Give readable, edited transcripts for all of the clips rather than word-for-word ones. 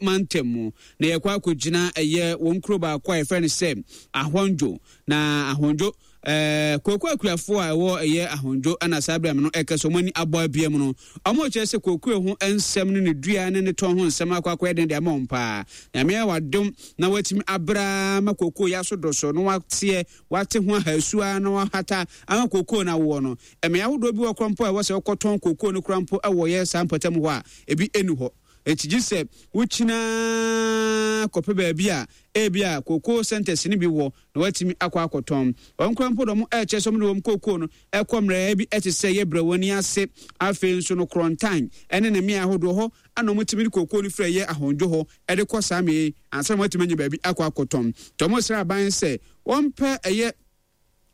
mantam mu. Na yɛkɔ akɔgyina ɛyɛ wɔn kuro baako a yɛfrɛ no sɛ Ahɔndwo. Na Ahɔndwo ɛɛ kooko akuafoɔ a ɛwɔ ɛyɛ Ahɔndwo ɛna saa berɛ no ɛkɛ sɛ wɔn ani abɔ abia mu no, wɔn kyerɛ sɛ kooko ho nsɛm ne ne dua ne ne tɔn ho nsɛm akɔ akɔyɛ den de ama wɔn paa. Nyame ayɛ wadom na watumi abra ma kooko yɛ aso do so na wateɛ wate ho ahasu ara na wahata ama kooko no awoɔ no. Mmea ahodoɔ bi wɔ koraa mpo a ɛwɔ sɛ wokɔtɔn kookoo no koraa mpo wɔ yɛ saa mpɔtam hɔ a, ebi nni hɔ. Enti gye sɛ wokyini ara kɔpɛ baabi a ebia kookoo centres no bi wɔ na woatumi akɔ akɔtɔn. Wɔn koraa mpo de wɔn ɛrekyerɛ sɛ wɔde wɔn kookoo no kɔ mmerɛɛ bi te sɛ yɛ Brɛwani ase, afei nso no Korɔntan ne ne mmeae ahodoɔ hɔ na wɔtumi de kookoo no firi ɛyɛ Ahondwo hɔ de kɔ saa mmeae yi ansa na wɔatumi anya baabi akɔ akɔtɔn. Nti wɔsrɛ aban sɛ wɔmpɛ ɛyɛ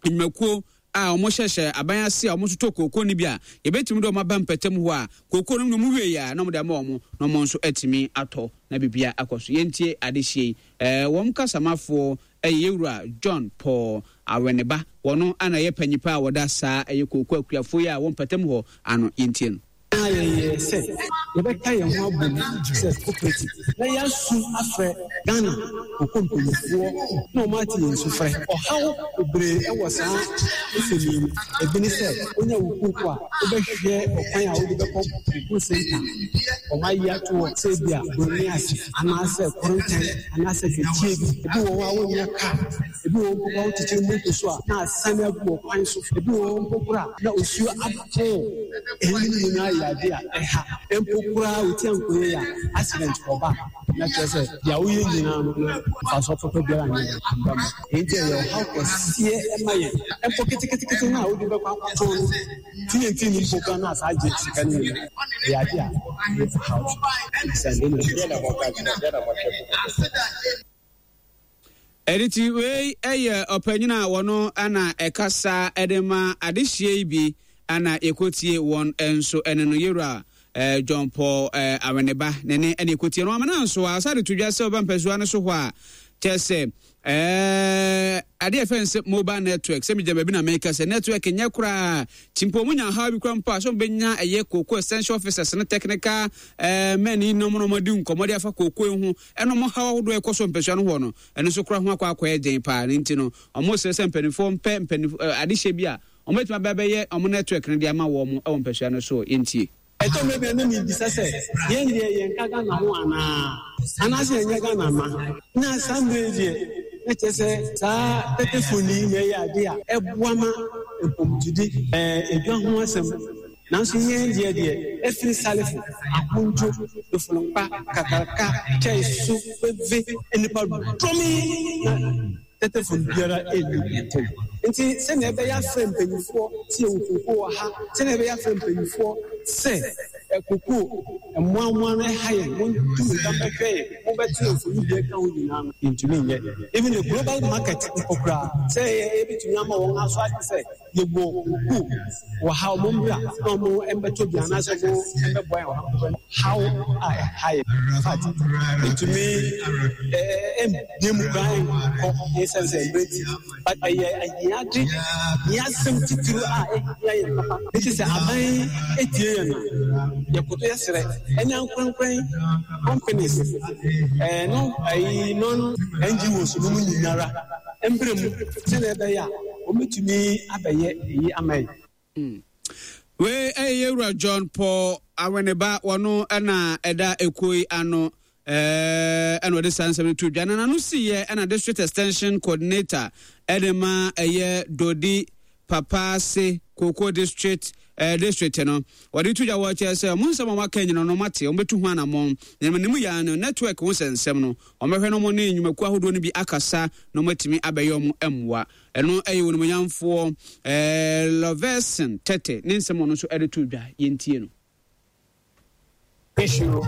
nnwumakuo a wɔhyehyɛ aban ase a wɔtotɔ kooko no bi a, yɛbɛtumi de wɔn aba mpɛtam hɔ a, kooko no na wɔn wie a, na wɔde ama wɔn na wɔn nso atumi atɔ na biribiara akɔ so. Yɛntie adehyeɛ yi. Ɛɛ wɔn kasamafoɔ ɛyɛ Yɛwura John Paul Aweneba. Wɔn ana ɛyɛ panyipa a wɔda saa ɛyɛ kooko akuafoɔ yi a wɔn mpɛtam hɔ ano. Yɛntie no. Na yɛyɛɛ sɛ yɛbɛka yɛn ho abom sɛ cooperative na yɛasu afrɛ Ghana kooko mpanimfoɔ na wɔn ate yɛn sufrɛ. Ɔhaw bebree wɔ saa nsɛm yi mu. Ebi ne sɛ wonya wo kooko a, wobɛhwehwɛ ɔkwan a wode bɛkɔ kooko center a wɔayɛ ato hɔ sɛ ebia Broni ase anaasɛ Korontan anaasɛ Kakyie bi. Ebi wɔ hɔ a wonnya car, ebi wɔ hɔ mpo koraa wokyekyere moto so a na asiane agu ɔkwan so, ebi wɔ hɔ mpo koraa na osuo atɔ. Eyinom nyinaa yɛ ade a ɛha. Mpo koraa wo ti ankɔ yie a, accident kɔba a, na kyerɛ sɛ deɛ woyɛ nyinaa no, mfasoɔ papa biara nyɛ dɛn amba mu. Enti ɛyɛ ɔhaw kɛseɛ ma yɛn. Mpo ketekete no a wode bɛkɔ akɔtɔn no, TNT no mpo koraa na asaa gye sika no nyinaa. Ɛyɛ ade a ɛyɛ ɔhaw. Ɛnna Ɛno wei yɛ ɔpanyin a wɔno na ɛkasa de ma adehyeɛ yi bi na yɛkɔtie wɔn nso ɛne no yɛwura eh, John Paul eh, Aweneba ne ne ɛne yɛkɔtie no amana nso a ɔsa de to dwa sɛ ɔba mpasua no so hɔ a kyɛ sɛ eh, adeɛ ɛfɛ sɛ mobile network sɛ megya baabi na meka sɛ network nyɛ koraa nti mpo ɔmo nya haw bi koraa mpo a sɛ ɔmo ɛyɛ kooko essential officers ne technical eh, men yi nom na ɔmo adi nkɔmmɔ de afa kooko yi ho ɛna ɔmo haw ahodoɔ a ɛkɔ so mpasua no hɔ no, ɛno nso kora ho akɔ akɔyɛ den paa. Ne nti no, ɔmo srɛ sɛ mpanimfoɔ mpɛ mpanimfoɔ eh, adehyɛ bi a ɔmo bɛtumi aba abɛyɛ ɔmo network no de ama wɔn wɔ mpasua no so. Yɛntie. Ɛtɔ mmerɛ bi a na mebisa sɛ, yɛn deɛ yɛnka Ghana ho anaa? Anaasɛ yɛnyɛ Ghana mma? Na saa mmerɛ yi deɛ, na kyerɛ sɛ saa tetefon yi na ɛyɛ adeɛ a ɛboa ma mpɔmtudi, ɛɛ, edwa ho asɛm. Nanso yɛn deɛ deɛ, ɛfiri Salifo, Ahodwo, Dofolompa, Kakraka, Kyɛe so, Veve, nnipa dɔm yi na tetefon biara nni ntam. Nti sɛnea ɛbɛyɛ afrɛ mpanimfoɔ sɛ yɛwɔ kookoo wɔ ha, sɛnea ɛbɛyɛ afrɛ mpanimfoɔ sɛ kookoo mmoamoa no ɛha yɛn, montu mmirika mmɛhwɛ yɛn, mobɛto yɛn mfoni bi ɛka ho nyinaa no, yɛntumi nyɛ. Even the global market mpo koraa, sɛ yɛbɛtumi ama wɔn aso ate sɛ Yɛwɔ kuo wɔ ha, wɔn mbra na wɔn mbɛtɔ bi anaasɛ wɔn mbɛboa yɛn wɔ ha. Haw a ɛha yɛn. In fact, ɛtumi ɛmbie mu koraa nkɔ ɛsiane sɛ mmerɛ ti. But ɛyɛ ahiade, ahiasɛm titiriw a ɛhia yɛn papa. Nti sɛ aban ɛtie yɛn a, yɛkoto yɛsrɛ ɛne ankorankoran companies, ɛɛ no ɛyi non NGOs no mu nyinara mbrɛ mu sɛnea ɛbɛyɛ a wɔbɛtumi abɛyɛ eyi ama yɛn. Wei ɛyɛ Yɛwura John Paul Aweneba, wɔno ɛna ɛda ekuo yi ano ɛna ɔde saa nsɛm no to dwa. Na n'ano siiɛ ɛna District Extension Coordinator ɛde ma ɛyɛ Dodi Papaase Cocoa District District no, wɔde to dwa wɔ kyerɛ sɛ wɔn nsɛm a wɔaka nyina no wɔate, wɔbɛtu ho anammɔn. Na ne mu yɛ no network ho nsɛnsɛm no, wɔbɛhwɛ na wɔne nnwumakuo ahodoɔ no bi akasa na wɔatumi abɛyɛ wɔn mmoa. Ɛno yɛ Onimuonyamfoɔ Lovesen Tete ne nsɛm a ɔno nso de to dwa. Yɛntie no. Issue.